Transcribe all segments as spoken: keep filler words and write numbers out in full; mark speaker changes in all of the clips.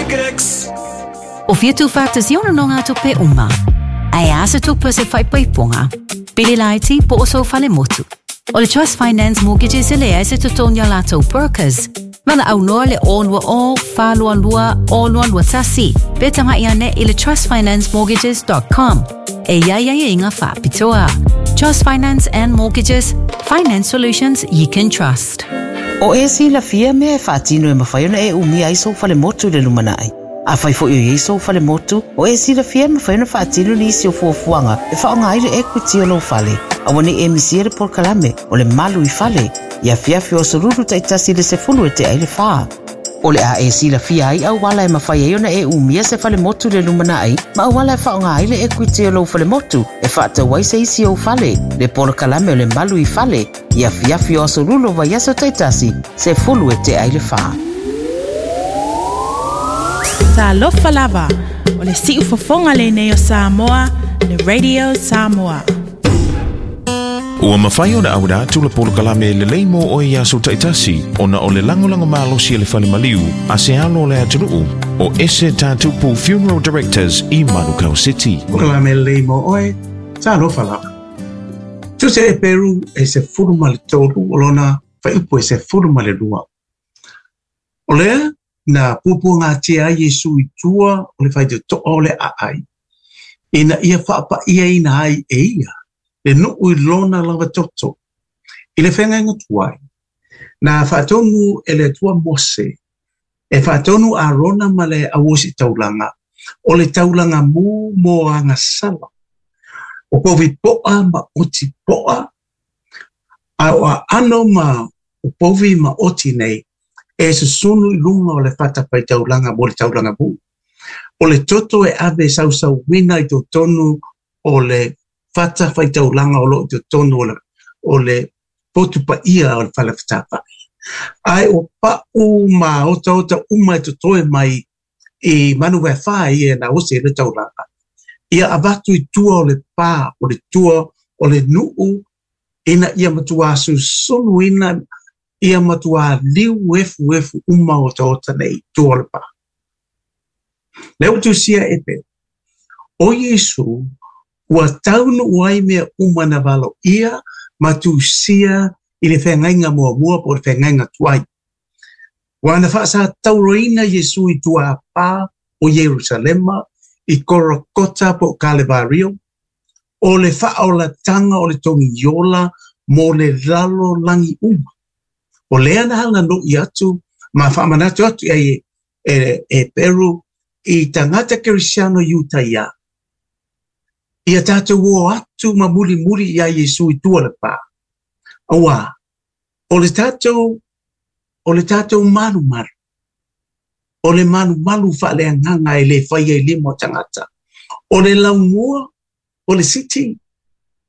Speaker 1: Ticket X.
Speaker 2: O fia tuufaatasia o nonogatupe uma. Ae a se tupe o se faaipoipoga, pili laiti po o sou falemotu. O le Trust Finance Mortgages e leai se totogi a latou brokers. Valaau loa le o lua o, fa lua lua, o lua lua tasi, pe tagai ane i le trust finance mortgages dot com. E i ai aiaiga faapitoa. Trust Finance and Mortgages, finance solutions you can trust.
Speaker 3: O e silafia mea e faatino e mafai ona e umia ai sou falemotu i le lumanai. Afai foi o i ai sou falemotu, o e silafia e mafai ona faatino nisi o fuafuaga e faaaoga ai le equity o lou fale. Aua nei e misia le polokalame o le malu i fale, i afiafi o aso lulu taitasi i le sefulu e tea i le fa. O le a e silafia ai auala e mafai ai ona e umia se falemotu i le lumanai, ma auala e faaaoga ai le equity o lou falemotu e faatau ai se isi ou fale, le polokalame o le malu i fale, i afiafi o aso lulu o vaiaso taitasi, sefulu e tea i le fa.
Speaker 4: Talofa lava, o le siufofoga lenei o Samoa, le Radio Samoa.
Speaker 5: Ua mafai ona auina atu le polokalame lelei mo oe i aso taitasi, ona o le lagolago malosi e le fale maliu a se alo o le atunuu o Ese Tatupu Funeral Directors i Manukau City.
Speaker 6: Polokalame lelei mo oe, talofa lava. Tusi a Eperu e sefulu ma le tolu, o lona fuaiupu e sefulu ma le lua. O lea na puapuagatia ai Iesu i tua o le faitotoa o le aai, ina ia faapaiaina ai e ia le nuu i lona lava toto. I le feagaiga tuai, na faatonu e le Atua Mose, e faatonu Arona ma le auositaulaga, o le taulaga mu mo agasala. O povi poa ma oti poa, a o aano ma o povi ma oti nei, e susunu i luga o le fatafaitaulaga mo le taulaga mu. O le toto e ave sausauina i totonu o le fatafaitaulaga o loo i totonu o le, o le potu paia o le fale fetāfa'i. Ae o pa'u ma otaota uma e totoe mai i manu vaefa ia na osi e le taulaga. Ia avatu i tua o le pā, o le tua o le nuu, ina ia matuā susunuina, ia matuā liu efuefu uma otaota nei i tua o le pā. Lea ua tusia e pe, o Iesu, ua taunuu ai mea uma na valoia ma tusia i le feagaiga muamua po o le feagaiga tuai. Ua na faasatauroina Iesu i tua a pā o Ierusalema, i Korokota po o Kalevario, o le faaolatanga o le togiola mo le lalolagi uma. O lea na halanui atu ma faamanatu atu i ai e, e Peru i tagata kerisiano Iutaia. Ia tatou o atu ma mulimuli ia Iesu i tua le pā. Auā, o le tatou, o le tatou malumalu, o le malumalu faaleagaga e le faia i lima o tagata. O le laumua, o le city,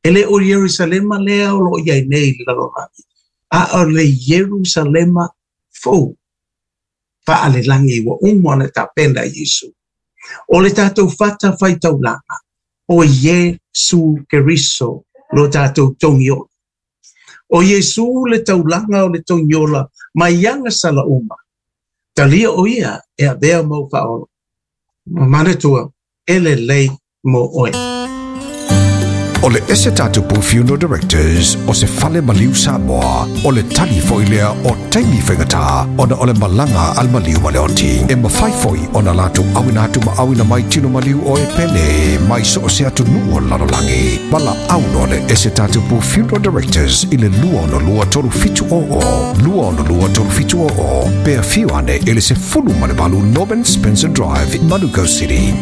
Speaker 6: e le o Ierusalema lea o loo i ai nei i le lalolagi, a o le Ierusalema fou, faalelagi ua uma ona tapena e Iesu. O le tatou fatafaitaulaga, o Iesu Keriso lo tatou togiola. O Iesu le taulaga o le togiola mai agasala uma. Talia o ia e avea mau faaola. Manatua, e lelei mo oe.
Speaker 7: O le Ese Tatupu Funeral Directors o se fale maliu Samoa, o le tali foi lea o taimi faigata ona o le malaga a le maliu ma le oti. E mafai foi ona latou auina atu ma auina mai tino maliu o e pele mai so o se atunuu o le lalolagi. Valaau loa le Ese Tatupu Funeral Directors i le lua ono lua tolu fitu o o, lua ono lua tolu fitu o o, pe afio ane i le sefulu ma le valu Norman Spencer Drive, Manukau City.